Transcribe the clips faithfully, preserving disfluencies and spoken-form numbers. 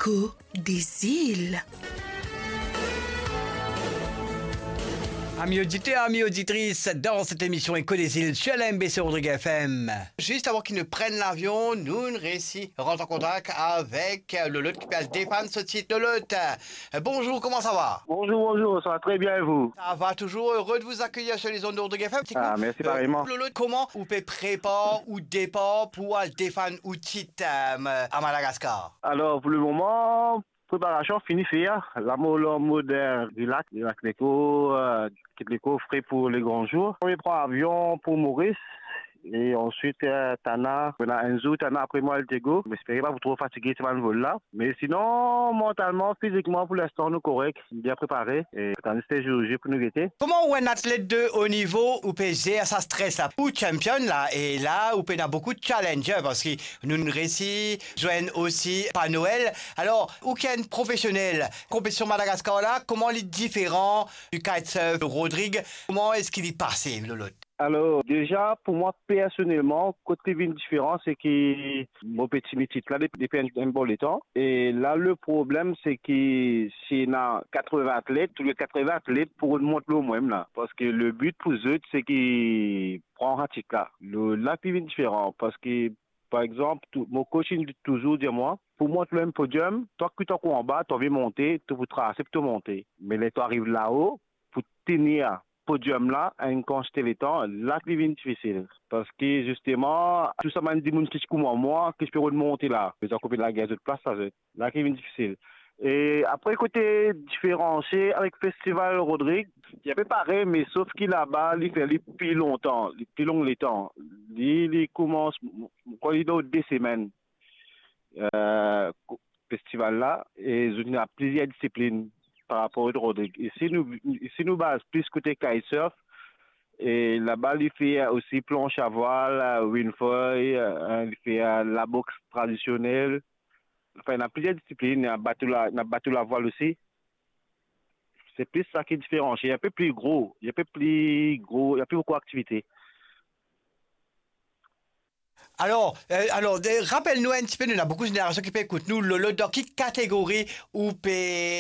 Écho des îles. Amis auditeurs, amis auditrices, dans cette émission Écho des îles sur la M B C Rodrigue F M. Juste avant qu'il ne prenne l'avion, nou resi rant an kontak avek Lolot ki pe al defann so tit. Lolot, euh, bonjour, comment ça va? Bonjour, bonjour, ça va très bien et vous? Ça va, toujours heureux de vous accueillir sur les ondes de Rodrigue F M. Ah, merci pareillement. Lolot, kouma ou pe prepar ou depar pou al defann ou tit, euh, à Madagascar? Alors, pour le moment, préparation fini fer. La mo lor mod, euh, relax, relax leko, euh, kit leko fre pou le gran zour. Premie pran avion pou Moris e answit, euh, Tana. Ena enn zour Tana, apre mwa El Diego. Mo espere pa pou tro fatige sa bann vol la. Me sinon, mantalman, fizikman, pou linstan, nou korek, bien prepare. E tann zis zour J pou nou gete. Kouma ou enn atlet de o nivo, ou pe zer sa stres la? Ou champion la, e la, ou pena boukou challenger, parski nou resi zwenn osi Pa Noel. Alor, ou ki enn profesionel, konpetision Madagaskar la, kouma li diferan du kitesurf Rodrigue? Kouma eski li pase, Lolot? Alor, deza, pou mwa personelman, kot li vinn diferan, se ki mo pe tini tit la depi, depi enn, enn bon letan. E la, le problem, se ki si ena katrevin atlet, tou le katrevin atlet pou rod mont lor mwa la. Parski le but pou zot, se ki pran sa tit la. Le, la ki vinn diferan, parski, par exanp, tou, mo coach inn touzour dir mwa, pou mont lor enn podium, twa ki to ankor anba, to anvi monte, to pou trase pou to monte. Me ler to ariv lao, pou tenir podium la enn kantite letan, la ki vinn difisil. Parski zisteman, tou sa bann dimoun ki ti kouma mwa, ki ti pe rod monte la, zot ankor pe lagagn zot plas la, zot. La ki vinn difisil. E apre, kote diferansie avek festival Rodrigue, li ape parey, me sof ki laba, li fer li pli lontan, li pli long letan. Li, li koumans, kan li dan de semenn. Eh, ko-, festival la, e zot ena plizier disiplinn par rapor Rodrigue. Isi nou, isi nou baz plis kote kitesurf, e laba li fer osi planche à voile, windsurf, eh, li fer laboks tradisionel. Anfin, ena plizier disiplinn, ena bato la, ena bato lavwal osi. Se plis sa ki diferansie, enpe pli gro, enpe pli gro, ena pli boukou aktivite. Alor, eh, alor, de, rapel nou enn tipe, nou ena boukou zenerasion ki pe ekout nou, Lolo, dan ki kategori ou pe,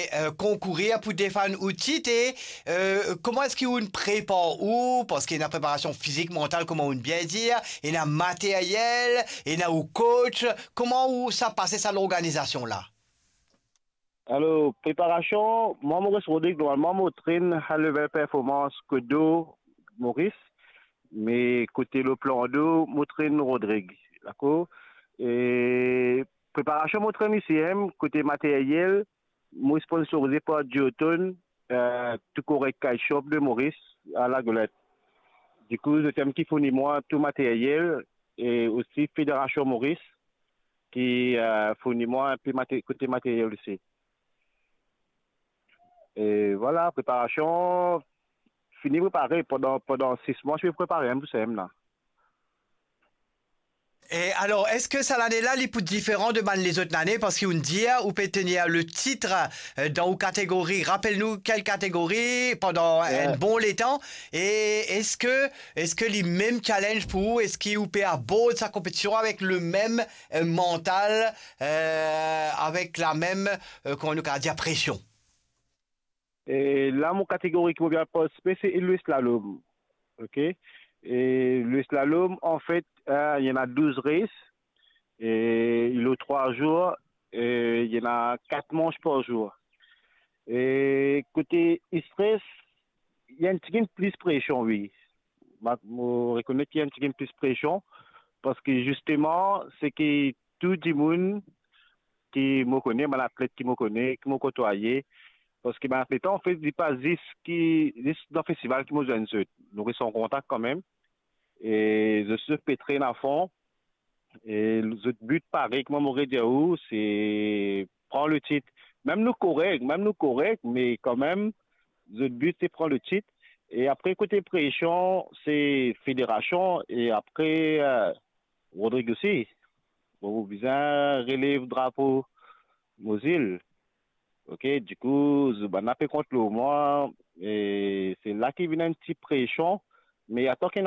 eh, konkourir pou defann ou tit e, eh, kouma eski ou prepar ou, parski ena preparasion fizik, mantal, kouma ou bien dir, ena materyel, ena ou coach, kouma ou sa pase sa lorganizasion la? Alor, preparasion, mwa Maurice Rodrigue, normalman mo trenn High Level Performance kot do Maurice, me kote lor plan do, mo trenn Rodrigue, dakor? E preparasion mo trenn isi mem, kote materyel, mo sponsorize par Duotone, eh, Tou Korek Kite Shop de Maurice, a Lagolet. Dikou, zot mem ki fourni mwa tou materyel, e osi Federasion Maurice, ki, eh, fourni mwa enpe mate-, kote materyel osi. E vwala, preparasion, fini prepare pandan, pandan sis mwa, fini prepare enn pou sa mem la. E alor, eski sa lane la, li pou diferan de bann lezot lane? Parski ou dir, ou pe tenir le tit, eh, dan ou kategori. Rapel nou kel kategori pandan enn bon letan. E eski, eski li mem challenge pou ou? Eski ou pe abord sa konpetision avek le mem, eh, mantal, eh, avek la mem, eh, kouma nou kapav dir, presion? E la, mo kategori ki mo pe partisipe, se le slalom. Ok? E le slalom, anfet, eh, li ena douz race, e li lor trwa zour, e li ena kat manch par zour. E kote stres, li enn tigit plis presion, wi. Ma-, mo rekonet ki enn tigit plis presion, parski zisteman, se ki tou dimoun ki mo kone, bann atlet ki mo kone, ki mo kotwaye, parski bann atlet la, anfet, li pa zis ki, zis dan festival ki mo zwenn zot. Nou res an kontak kanmem. E zot, zot pe trenn afon. E zot but, parey kouma mo redir ou, se pran le tit. Mem nou korek, mem nou korek, me kanmem, zot but, se pran le tit. E apre, kote presion, se federasion, e apre, eh, Rodrigue osi. Bon, ou bizin relev drapo mo zil. Ok, dikou, zot bann la pe kont lor mwa, e se la ki vinn enn ti presion, me atann ki